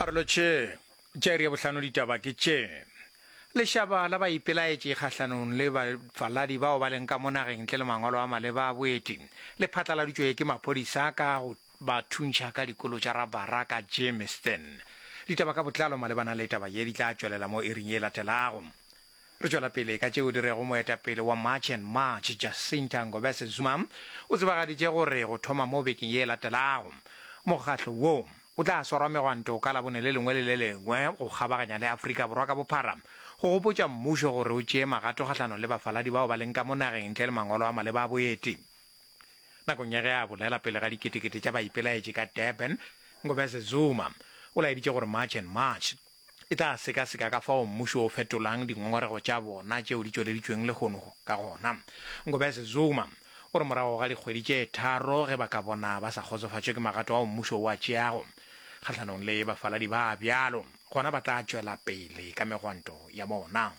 A re lotšhe. Tša iri ya bohlano ditaba ke tše. Lešaba la baipelaetši kgahlanong le bafaladi bao ba leng ka mo nageng ntle le mangwalo a maleba a boeti le phatlaladitšwe ke maphodisa ka go ba thuntšha ka dikolo tša rabara ka Germiston. Ditaba ka botlalo malebana le taba ye di tla tšwelela mo iring ye latelago. Re tšwela pele ka tšeo di rego moetapele wa March and March Jacinta Ngobese Zuma o tsebagaditše gore go thoma mo bekeng ye latelago mokgatlo wo o tla swarwa megwanto ka Labone le lengwe le le lengwe go kgabaganya le Afrika Borwa ka bophara go gopotša mmušo gore o tšee magato kgahlanong le bafaladi bao ba leng ka mo nageng ntle le mangwalo a maleba a boeti. Nakong ya ge a bolela pele ga diketekete tša baipelaetši ka Durban, Ngobese Zuma o laeditše gore March and March e tla sekaseka ka fao mmušo o fetolang dingongorego tša bona tšeo di tšweleditšweng lehono ka gona. Ngobese Zuma o re morago ga dikgwedi tše tharo ge ba ka bona ba sa kgotsofatšwe ke magato ao mmušo o a tšeago kgahlanong le bafaladi ba bjalo, gona ba tla tšwela pele ka megwanto ya bona.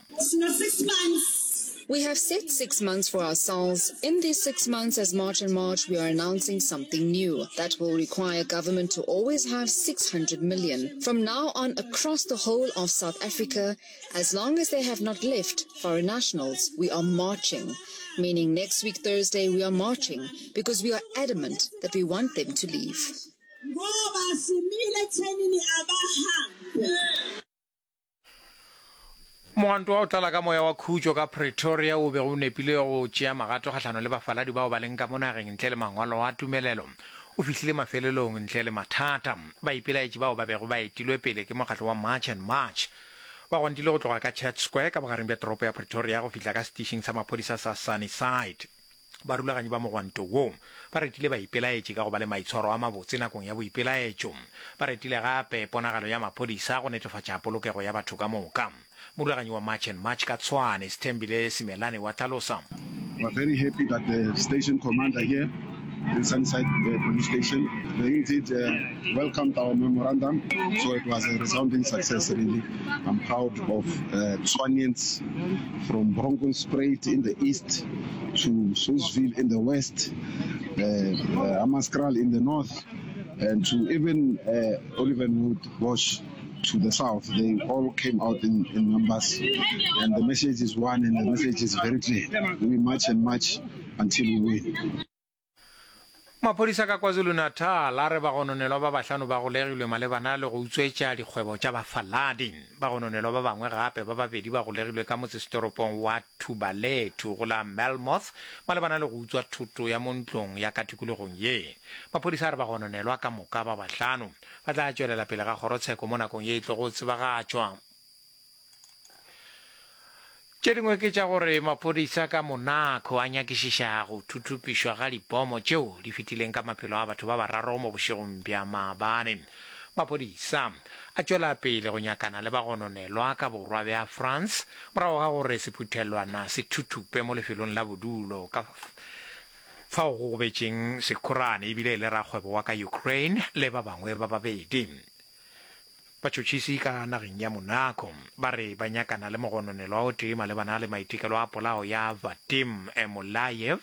We have set six months for ourselves. In these six months as March and March we are announcing something new that will require government to always have 600 million. From now on across the whole of South Africa, as long as they have not left foreign nationals, we are marching. Meaning next week Thursday we are marching because we are adamant that we want them to leave. Ngoba simile ekuthenini abahambe. Mogwanto wa go tlala ka moya wa khutšo ka Pretoria o bego o nepile go tšea magato kgahlanong le bafaladi bao ba leng ka mo nageng ntle le mangwalo a tumelelo o fihlile mafelelong ntle le mathata. Baipelaetši bao ba bego ba etilwe pele ke mokgatlo wa March and March ba gwantile go tloga ka Church Square ka bogareng bja toropo ya Pretoria go fihla ka setišing sa maphodisa sa Sunnyside. Barulaganyi ba mogwanto wo ba retile baipelaetši ka go ba le maitshwaro a mabotse nakong ya boipelaetšo. Ba retile gape ponagalo ya maphodisa go netefatša polokego ya batho ka moka. Morulaganyi wa March and March ka Tshwane, Sthembile Simelane wa hlalosa. We are very happy that the station commander here in Sunnyside Police Station, they indeed welcomed our memorandum, so it was a resounding success really. I'm proud of Tshwanians from Bronkhorstspruit in the east to Saulsville in the west, uh, uh, Hammanskraal in the north, and to even uh, Olivenwood Bosch to the south. They all came out in, in numbers, and the message is one, and the message is very clear. We march and march until we win. Maphodisa ka KwaZulu-Natal a re bagononelwa ba bahlano ba golegilwe malebana le go utswetša dikgwebo tša bafaladi. Bagononelwa ba bangwe gape ba babedi ba golegilwe ka motsesetoropong wa Thubalethu go la Melmoth malebana le go utswa thoto ya mo ntlong ya ka tikologong ye. Maphodisa a re bagononelwa ka moka ba bahlano ba tla tšwelela pele ga kgorotsheko mo nakong ye e tlogo tsebagatšwa. Tše dingwe ke tša gore maphodisa ka Monaco a nyakišiša go thuthupišwa ga dipomo tšeo di fetileng ka maphelo a batho ba bararo mo bošegong bja maabane. Maphodisa a tšwela pele go nyakana le bagononelwa ka borwa bja France morago ga gore sephuthelwana se thuthupe mo lefelong la bodulo ka fao go gobetšeng sekhorane ebile e le rakgwebo wa ka Ukraine le ba bangwe ba babedi. Batšhotšhisi ka nageng ya Monaco ba re ba nyakana le mogononelwa o tee malebana le maitekelo a polao ya Vadim Emolayev,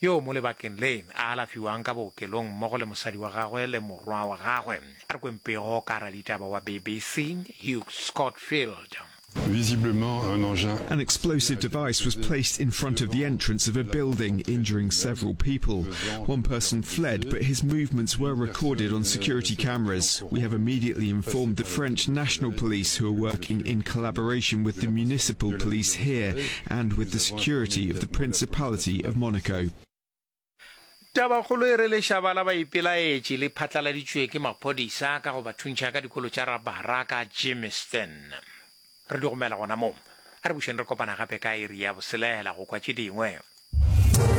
yoo mo lebakeng le a alafiwang ka bookelong mmogo le mosadi wa gagwe le morwa wa gagwe. A re kweng pego ka raditaba wa BBC Hugh Scotfield. Visiblement un engin. An explosive device was placed in front of the entrance of a building, injuring several people. One person fled, but his movements were recorded on security cameras. We have immediately informed the French National Police, who are working in collaboration with the municipal police here and with the security of the Principality of Monaco. Tabakgolo e re lešaba la baipelaetši le phatlaladitšwe ke maphodisa ka go ba thuntšha ka dikolo tša rabara ka Germiston. Re di gomela gona moo. A re bušeng re kopana gape ka iri ya boselela go kwa tše dingwe.